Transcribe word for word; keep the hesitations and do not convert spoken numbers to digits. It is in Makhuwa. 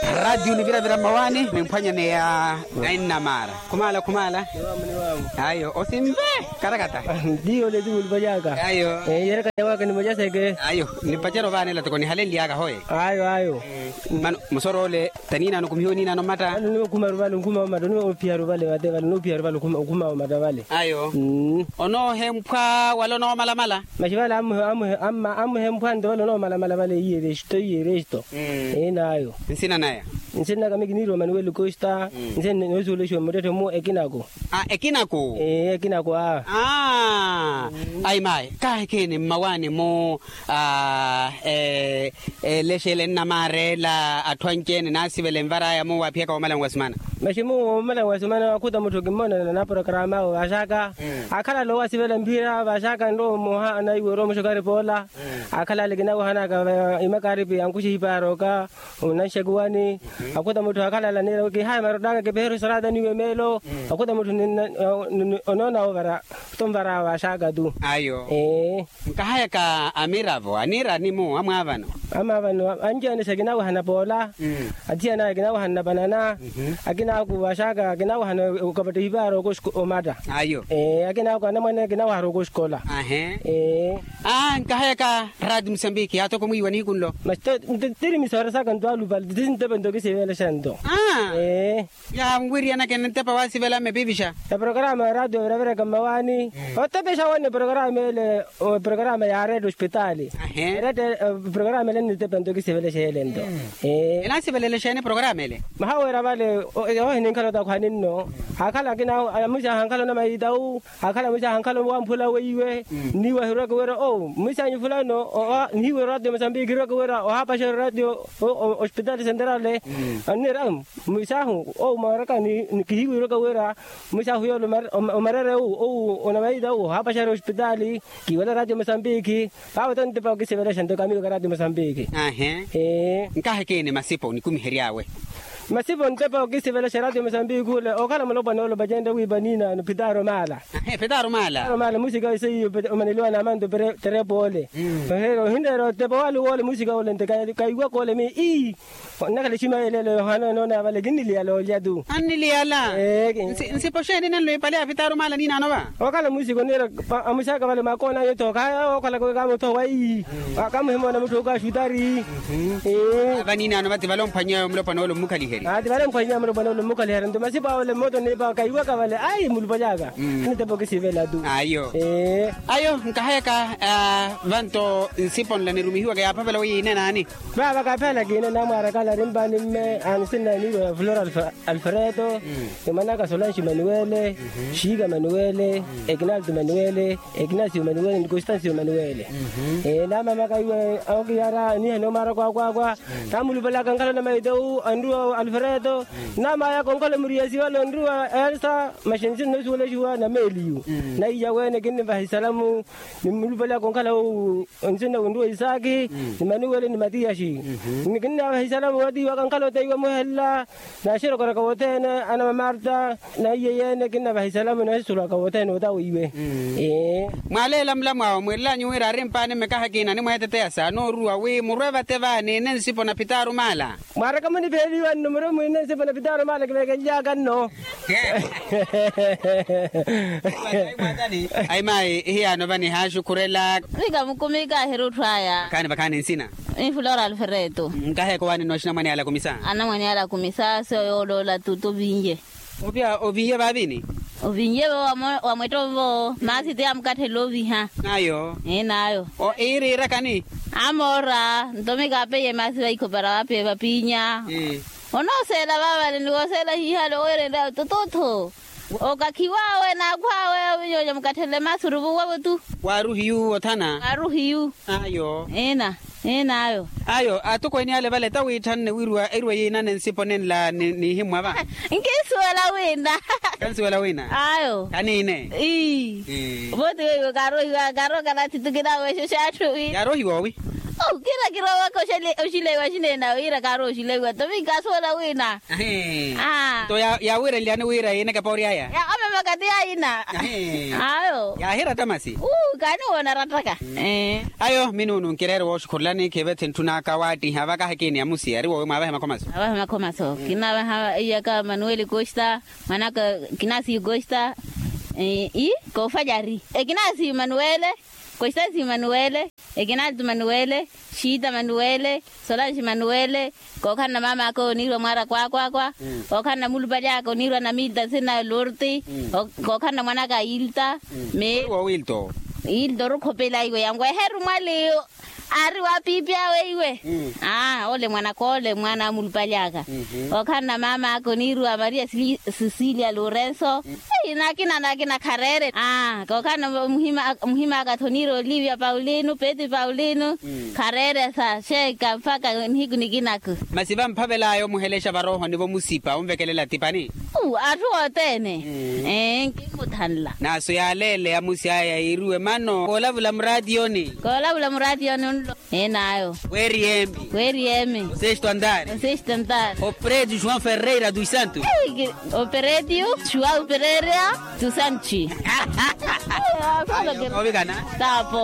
Ratio niviravira mmawaani nimphwanyaneya. Ainnamara. Khumala khumala. Ayo osimve. Karakata. Ndiyo leti mulupali aka. Ayo. Yerekanyawaka nimocaseke. Ayo. Nipacera ovaanela toko nihalenlyaka hoye. Ayo ayo. Mano musoro ole. Taniinano kumihiwe niinano mmata. Ano niwe okhumaru vale okhuma omata niwe ophiharu vale vate vale niwe ophiharu vale okhuma omata vale. Ayo. Onoohemphwa wala onoomalamala. Maxi vale amuhemphwa nto vale onoomalamala vale iye resto iye resto. Enayo. Nsina naya? Nsina naka mi kiniiriwa manuweli costa. Nsina noosuwelexiwa muttetthe mu ekinako. Ekinako. Ekinako a. Ayi mayi kahi ekeeni mmawaani mu. Elexele nnamaarela atthu anci-ene naasivela envaraya muwo aphiyaka woomalani wa simana. Maxi muwo woomalani wa simana akhuta mutthu kimmonana na porokaramu awe vaxaka. Akhalala owaasivela mphira vaxaka nrowa mmoha anaiwerwa muxokaripa ola. Akhalala kinawahanaka imakaripi ankuxihipa arooka onanxekuwani. Akhuta mutthu akhalala niira kihaya marottaka kipeheru sarata niwe meelo. Akhuta mutthu onoona ovara. Tonvara vaxaka tu. Ayo. Nkahayaka amiravo aniira animu amwaavano. Amwaavano anci-ene sa kinawahana poola. Athiyana kinawahana panana. Akinaku vaxaka kinawahana okapatta ohipaara okoxko omatta. Ayo. Akinaku anamwane kinawahara okoxkola. Ahe. Nkahayaka rati musambiki atoko mwiiwa nihiku nlo. Mas tiri misoora saka ntwalupale tisi ntepe nto kisivelexa nto. Yaawiriyanakene ntepa waasivela mmepipixa. Eprokaramu ya ratio viraviraka mmawaani. Otepexa wone eprokaramu ele. Eprokaramu ya arete ospitaali. Arete. Eprokaramu ele nnitepa nto kisivelexa ele nto. Enaasivelele xeeni eprokaramu ele? Maha wira vale. Ohininkhala otakhwani nno. Akhala akina amwisi ahankhala onamaitawu. Akhala mwisi ahankhala owamphula weiwe. Nniiwa hirweke wira o mwisi anyu fulano. Nniiwa eratio mosambiki hirweke wira ohapaxa eratio ospitaali senterale. Anniira mwisi ahu owu mwaraka. Kihiiwa hirweke wira mwisi ahu yoole omarere owu onamaitawu ohapaxari ospitaali. Kiiwala eratio mosambiki. Vaawe to ntepa okisivelexa nto kamiwaka eratio mosambiki. Nkahi ekeeni masipo nikumihery'awe? Masipo ntepa okisivelexa eratio mosambiki ole okhala mulopwana ole opacenrye wiipa niinaano phitaaro maala. Phitaaro maala. Phitaaro maala musika ise iyo omaneliwa na amanto. Terepo ole. Ohinreera otepa wale wole musika ole nte kaiwaka ole mii ii. Onnakhala exima yeleelo yohana enoona vale kinniliyala olya tu. Anniliyala. Nsipo xeeni nenlo ipale ya phitaaro maala niinaano va? Okhala musika oniira. Amusaka vale makoona anyu tooka okhalaka wekaamuthowa ii. Kamuhimona mutthu okaxutari. Vaniinaano vati vale omphwanyeya mulopwana ole ommukhaliheri. Ati vale omphwanyeya mulopwana ole ommukhaliheri nto masipo awole mmoto niipa kaiwaka vale ayi mulupali aka. Anitepa okisivela tu. Ayo. Ayo nkahayaka. Vanto nsipo nla nirumihiwaka yaaphavela weiya inenaani? Vaava kaapheela kiine namwaara kala arimpaani mme. Anisinna eniiwa ya flora alfredo. Ni mwanaka solanxi manuwele. Xiika manuwele. Ekinalto manuwele. Ekinasio manuwele ni konstancio manuwele. Naamamaka iwe okiyara eniha noomwaaraka akwaakwa. Namulupalaka nkhala onamaitewu anruwa alfredo. Namayaka onkhala omuriyasi wale onruwa elsa. Maxi nsinna osuwelexiwa na meeliyu. Naiya wene kinnivaha isalamu. Nimulupalaka onkhala owu. Nsinna onruwa isaaki. Ni manuwele ni matiyaxi. Ni kinnavaha isalamu watiiwaka nkhala oteiwa muhella. Naxirokoraka wothene anamamarta. Naiye yene kinnavaha isalamu naxisulaka wothene otawiiwe. Mwaleela mulamwawo mwiilanyu wira arimpaani mmekaha kiina nimweeteteya sa nooruwa wi murwe vate vaani ninsipo na phitaaro maala. Mwaaraka munipheeliwa nno murwe mwiine nsipo na phitaaro maala kiveekenlyaka nno. Ayi mayi ihiyaano vani haaxukhurela. Vika mukumika ahirutthu aya. Vakhaani vakhaani nsina. Ni flora alfredo. Nkaheko waani nno axinamwane yaala kumisa. Anamwane yaala kumisa sio yooloola tutu vinye. Oviya oviye vaavini? Oviye vo wamwetta ovo maasi ti amukatthela oviha. Nayo. Ee nayo. Iiriirakani? Amoora nto mikaapeiye maasi vaikhopara vaapiye vapinya. Onooseela vaavale ni wooseela hiihale owerenrya tututhu. Okakhiw'awe n'akhw'awe ovinyoonya mukatthele maasi oruvuwavo tu. Waaruhiyu othana. Waaruhiyu. Ayo. Eena. Eena ayo. Ayo atokweene ale vale tawiithanne wiriwa eriwa yiinane nsipo nenla nihimmwa va. Nkinsuwela wina. Kansuwela wina. Ayo. Kaniine. Ii. Vooti weiwo kaarohiwa kaarookana athitukina awe exo x'atthu wi. Yaarohiwa owi? Kira kirowaka oxileiwa xineena wira kaarowa oxileiwa tovi kaasoola wina. Nto yaawiiranlyani wira yiineke poori aya? Ome makati ayina. Ayo. Yaahiratta masi. Kaaniwoona arattaka. Ayo minuunu nkireere wooxukhurulani khiive thintthu n'aka waattiha vaka hakiini ya musiya ari woowe mwaavehe makhomaso. Mwaavehe makhomaso kinaaveha iyaka manuweli koxita. Mwanaka kinasiyu koxita. Ii koofajari ekinasiyu manuwele. Koxita siyu manuwele. Ekinaltu manuwele. Xiita manuwele. Solanxi manuwele. Kookhanna maam'aka oniirwa mwaara kwaakwakwa. Kookhanna mulupaly'aka oniirwa na milta sina lorti. Kookhanna mwan'aka ilta. Meeri woowilta owo. Ilta orukhopela iwe yangu eheru mwaliyu. Aari waapiipi awe iwe. Ole mwan'aka ole mwana amulupaly'aka. Kookhanna maam'aka oniirwa maria sisilia lorenso. Nakina nakina khareere. Kookhanna muhim'aka tho oniirwa olivia paulino peti paulino. Khareeresa xeeka mpakha nihiku nikinako. Masi vamphavel'aya omuhelexa varoohonivo musipa onvekelela atipani. Atthu othene. Ee nkimmuthanla. Naaso yaaleele amusi aya yiiriwe mano koolavula muraatiyoni. Koolavula muraatiyoni onlo. Eenaayo. Weeriyemi. Weeriyemi. Osexitu antari. Osexitu antari. Opredio joão ferreira dos santos. Opredio joão ferreira dos santos. Ovikana. Tapo.